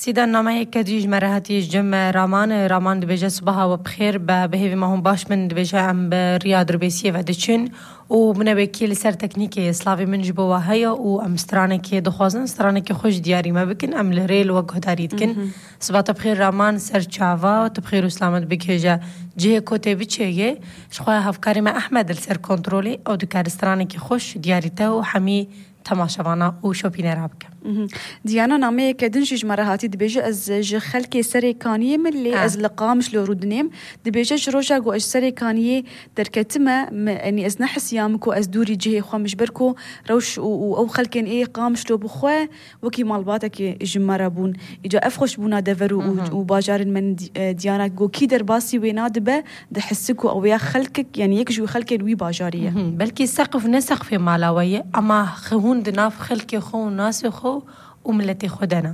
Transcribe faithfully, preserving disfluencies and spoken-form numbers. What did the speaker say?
Sîda nameyeke dî ji me re hatî ji cem me Raman. Raman dibêje, sibaha we bi xêr be, bi hêvî me hûn baş bin. Dibêje, em bi riya dirbêsiyê ve diçin û binebêkî li ser teknîkê slavê min ji bo we heye û em stranekê dixwazin, stranekê xwe ji diyarî me bikin, em li rê li we guhdarî dikin. Siba te bi xêr Raman, ser çava, tu bi xêr û selamet bigihêje cihê ku tê biçêyê. Ji xwe hevkarê me Ehmed li ser kontrolê, ew dikare stranekê xwe ji diyarî te û hemî temaşevana û şopînera bike. Diyana, nameyeke din jî ji me re hatî, dibêje, ez ji xelkê Serê Kaniyê me, lê Ha. ez li Qamişlo rûdinêm. Dibêje, ji roja ku ez ji Serê Kaniyê derketime, me, yanî ez nehisiyame ku ez dûrî cihê xwe me, ji ber ku rewş û, û ew xelkên ê Qamişlo bi xwe wekî malbatekê ji me re bûn. Îca ev xweşbûna dever û, û, Mhm. û bajarên me di-, e, Diyana, ku kî derbasî wê nadibe, dihisi ku ew ya xelkek, yanî yek ji wî xelkên wî bajarî ye. Mhm. Belkî seqf ne seqfê mala we ye, ama xwe hûn di nav xelkê xwe û nasê xwe û miletê xwe de ne.